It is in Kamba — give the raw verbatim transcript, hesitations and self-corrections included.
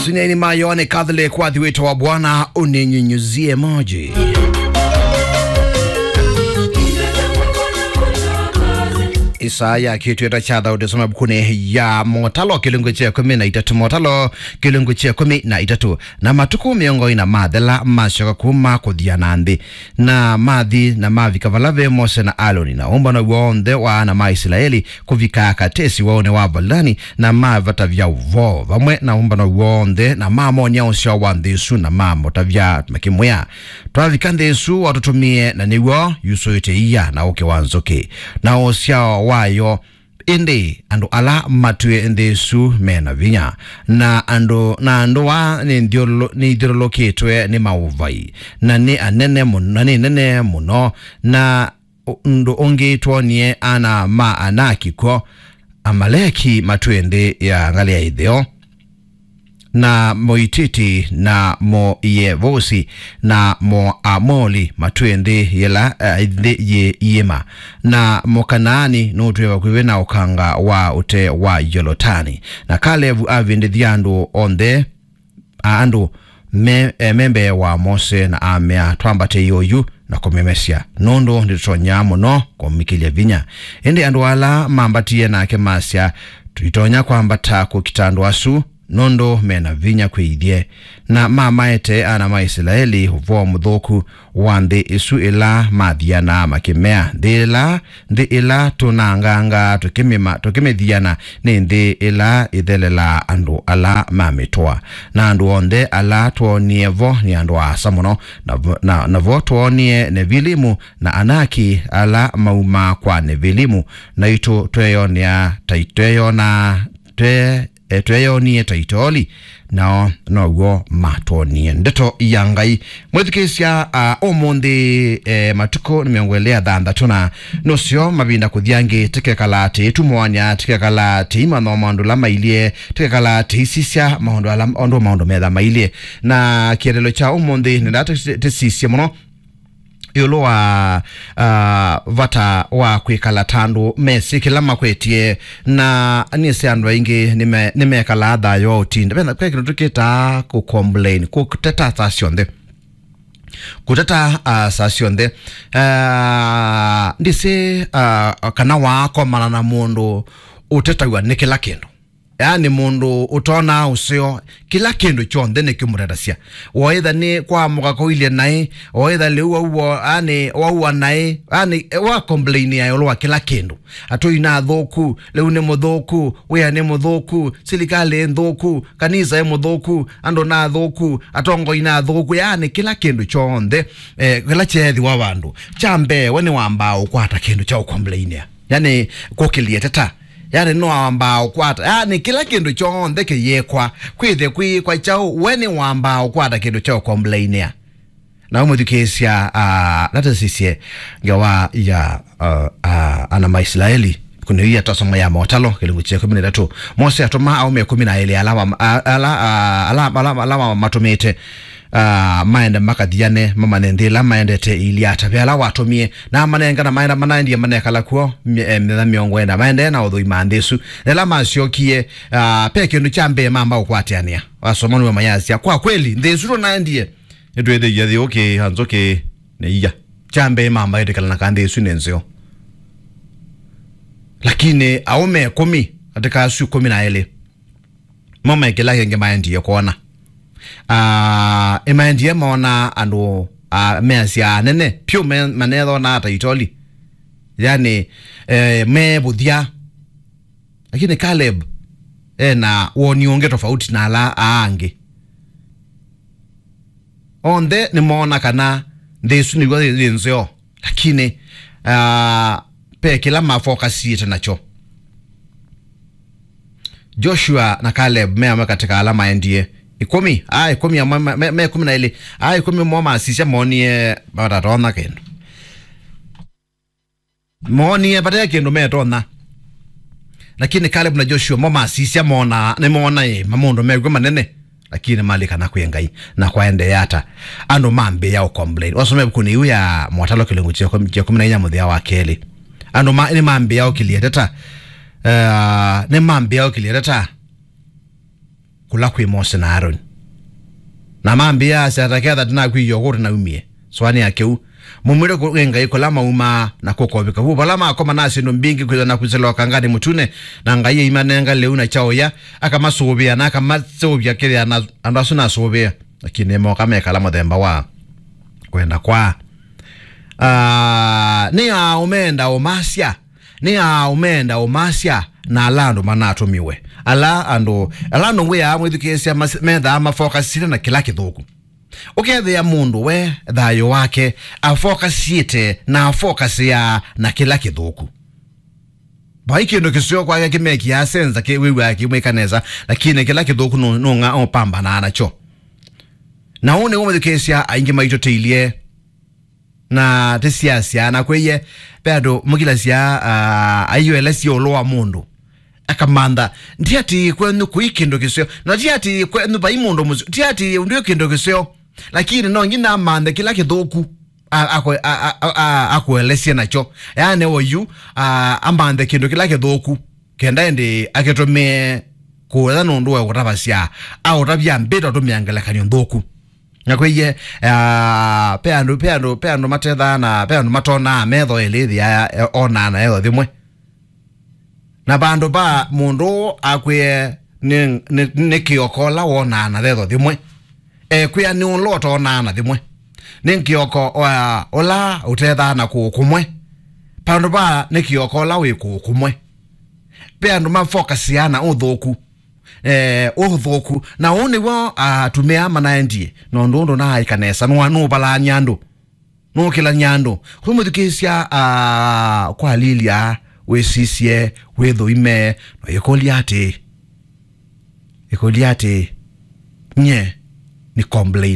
Sunyaini ma Yohane Catholic, wathi wĩto wa Bwana, uninyunyuzie maji. Isaya kĩtweta kya Thaũti, soma ĩvukunĩ ya Motalo kĩlungu kya ĩkũmi na itatũ. Motalo kĩlungu kya ĩkũmi na itatũ. Na matukũ mĩongo ĩna mathela, masyoka kuma kũthiana nthĩ, na mathi na mavika vala ve Mose na Aloni, na ũmbano w'onthe wa ana ma Isilaeli, kũvika Katesi waũnĩ wa Valani, na mavatavya ũvoo vamwe na ũmbano w'onthe, na mamonia ũsyao wa nthĩ ĩsu, na mamũtavya makĩmwĩa, "Twavika nthĩ ĩsu watũtũmie, na nĩw'o yusũĩte ia na ũkĩ wa nzũkĩ, na ũsyao wayo. Ĩndĩ andũ ala matwĩe nthĩ ĩsu me na vinya, na andũ, na andũ aa nĩ nthyũlũ-, nĩ ithyũlũlũkĩtwe nĩ maũvai, na nĩ anene mũno, na nĩ nene mũno, na ũ-, ũndũ ũngĩ twonie ana ma Anaki kw'o, Amaleki matwĩe nthĩ ya ngalĩ ya ĩtheo, na Mũititi, na Mũyevusi, na Mũamoli matwĩe nthĩ yĩla, eh, nthĩ yĩ iĩma, na Mũkanaani nũtwĩe vakuvĩ na ũkanga wa ũtee wa Yolotani." Na Kalevu avindĩthya andũ onthe, a andũ me, e, me mbee wa Mose, na amea, "Twambate ĩũyu na kũmemesya, nũndũ nĩtũtonya mũno kũmikĩlya vinya." Ĩndĩ andũ ala mambatie nake masya, "Tũitonya kwambata kũkita andũ asu, nũndũ me na vinya kwĩ ithyĩ." Na mamaete ana ma Isilaeli ũvoo mũthũku wa nthĩ ĩsu ĩla mathianaa makĩmea, "Nthĩ ĩla, nthĩ ĩla tũnanganga tũkĩmĩma-, tũkĩmĩthiana nĩ nthĩ ĩla ĩthelelaa andũ ala mamĩtũa. Na andũ onthe ala twoonie vo nĩ andũ aasa mũno, na vo, na, na vo twoonie Nefilimu na Anaki ala maumaa kwa Nefilimu, naitũ tweyonea ta i-, tweyonaa, twe-, e, tweyonie ta itooli, nao now'o matwonie." Ndeto ya Ngai. Mwĩthukĩĩsya, a, ũmũnthĩ, e, matukũ nĩ mĩongo ĩlĩ ya thanthatũ, na nũseo mavinda kũthi angĩ, tĩkekala tĩitũmũany'a, tĩkekala tĩimantha maũndũ ala mailyĩ, tĩkekala tĩisisya maũndũ ala, ũndũ maũndũ metha mailyĩ. Na kĩeleelo kya ũmũnthĩ nĩndaa tũsisye mũno ĩũlũ wa, ah, vata wa kwĩkala ta andũ mesĩ kĩla makwetye, na nĩsĩ andũ aingĩ nĩme-, nĩmekalaa thayũ wa ũtinda. Ve na, ve kĩndũ tũkĩtaa kũcomplain, kũteta saa syonthe. Kũteta, ah, saa syonthe. Ah, ndĩsĩ, ah, kana waakomana na mũndũ ũtetaw'a nĩ kĩla kĩndũ. Yaani mũndũ ũtonaa ũseo, kĩla kĩndũ kyonthe nĩkĩmũtetasya. Waĩtha nĩ kwaamũka kũilye naĩ, waĩtha lĩu wauwa, yaani waua naĩ, yaani wa complain ya ĩũlũ wa kĩla kĩndũ. Atũi nĩ athũku, lĩu nĩ mũthũku, wĩa nĩ mũthũku, silikalĩ ĩ nthũku, kanisa ĩ mũthũku, andũ nĩ athũku, atongoi nĩ athũku, yaani kĩla kĩndũ kyonthe, eh, kĩla kyeethĩwa vandũ. Kya mbee, we nĩwambaa ũkwata kĩndũ kya ũkomplainĩa. Yaani, kũkĩlya teta. Yaani, nĩwambaa ũkwata. Yaani, kĩla kĩndũ kyonthe kĩyĩkwa. Kwĩthe kwĩkwa kyaũ, we nĩwambaa ũkwata kĩndũ kya ũkomplainĩa. Na ũmũthukĩĩsya, ah, natesisye ngewa ya, ah, ah, ana ma Isilaeli. Kũnĩwia twasoma ya Motalo, kĩlungu kya ĩkũmi na itatũ. Mose atũma aũme ĩkũmi na elĩ ala wa-, a-, ala, ah, ala, ala, ala wa-, matũmĩte, ah, maende makathiane, mamanye nthĩ ĩla maendete ĩilyĩ ata. Ve ala watũmie, na amanengana maenda manaendie manekala kw'o, mye-, eh, mĩthenya mĩongo ĩna. Maendee na ũthũima nthĩ ĩsu. Na ĩla masyokie, ah, ve kĩndũ kya mbee mamba ũkwatĩanĩa. Wasoma nĩwe mayasya, "Kwa kweli, nthĩ ĩsu tũnaendie, nĩtwĩthĩie yĩũkĩĩa nzũkĩ nĩ ia." Kya mbee mamba ĩtĩkĩlana kana nthĩ ĩsu nĩ nzeo. Lakini aũme ĩkũmi katĩ ka asu ĩkũmi na elĩ, mo me kĩla kĩngĩ maendie kwona. Ah, ĩmaendie moona andũ, ah, measya anene, pyũ me-, manethonaa ta itoli. Yaani, eh, me vũthya. Lakini Caleb ena woni ũngĩ tofauti na ala aa angĩ. Onthe nĩmoona kana nthĩ ĩsu nĩw'o yĩ, yĩ nzeo. Lakini, ah, ve kĩla mafokasiĩte nakyo. Joshua na Caleb me amwe katĩ ka ala maendie. Ĩkũmi, aa ĩkũmi amwe, me, me, me ĩkũmi na elĩ. Aa ĩkũmi mo masisya moonie matatonya kĩndũ. Moonie vate kĩndũ metonya. Lakini Caleb na Joshua mo masisya moona, nĩmoona ĩ, ma maũndũ mekw'o manene. Lakini malikana kwĩ Ngai, na kwaendee ata? Andũ mambĩĩa ũcomplain. Wasoma ĩvukunĩ ĩu ya Motalo kĩlungu kya ĩkũmi, kya ĩkũmi na inya mũthĩa wa kelĩ. Andũ ma-, nĩmambĩĩa ũkĩlya teta. Eh, nĩmambĩĩa ũkĩlya teta. kũla kwĩ Mose na Aroni. Na mambĩa, asya, ta ketha ndinakwĩie ũkũte naumie. Sũanĩa kĩu. Mumwĩre kũ-, kwĩ Ngai kũla maumaa na kũkovĩka vu. Vala makoma na syĩndũ mbingĩ kwĩthwa na kwĩsĩla ũkanganĩ mũtune, na Ngai aimanenga lĩu na kyaũya, akamasũvĩa na akamaseũvya kĩthĩa na andũ asu nasũvĩa. Lakini moka mekala mũthemba wa kwenda kwa. Ah, nĩ aa ũmenda ũmasya, nĩ aa ũmenda ũmasya, na ala andũ manatũmiwe. Ala andũ, ala andũ ngwĩaa mwĩthukĩĩsya mas-, methaa mafokasile na kĩla kĩthũku. Ũkethĩa mũndũ we thayũ wake afokasĩte na afokasĩaa na kĩla kĩthũku. Vai kĩndũ kĩseo kwake kĩmekiaa senza kĩ wĩw'aa kĩmwĩka nesa, lakini kĩla kĩthũku nũ-, nũng'a ũpambanaa nakyo. Na ũũ nĩw'o mwĩthukĩĩsya aingĩ maitũ tĩilye. Na tĩsiasya na kwĩie, ve andũ mũkilasya, ah, aiũelesya ũlũ wa mũndũ. Akamantha, "Ndiatĩĩe kwenyu kũi kĩndũ kĩseo. Na ndiatĩĩe kwenyu vai mũndũ mũseo. Ndiatĩĩe ũndũ kĩndũ kĩseo." Lakini no nginya amanthe kĩla kĩthũku a-, akwe-, a-, a-, a-, a-, akũelesye nakyo. Yaani oyu, ah, amanthe kĩndũ kĩla kĩthũku. Kenda ĩndĩ akĩtũmĩe kũetha nũndũ wa kũtavasya. Aũtavya mbĩta ũtũmĩa ngelekany'o nthũku. Na kwĩie, ah, pe andũ, pe andũ, pe andũ matethaa na pe andũ matonaa metho elĩ ĩthĩa, eh, onaa na etho thimwe. Na vandũ va mũndũ akwĩe nĩ, nĩ, nĩ kĩoko ũla wonaa na thetho thimwe. Ekwĩa nĩ ũla ũtonaa na thimwe. Nĩ kĩoko wa ũla ũtethaa na kũũ kũmwe. Vandũ va nĩ kĩoko ũla wĩ kũũ kũmwe. Ve andũ mafokasĩaa na ũthũku. Eh, ũthũku. Na ũũ nĩw'o atumĩa manaendie. Na ũndũ ũndũ naaĩka nesa. Nũa nũvalany'a andũ. Nũkĩlany'a andũ. Kwĩ mũthukĩĩsya, ah, kwa Lilia, wĩsisye, wĩthũime, na ĩkũlya atĩ, ĩkũlya atĩ, nye nĩ complain.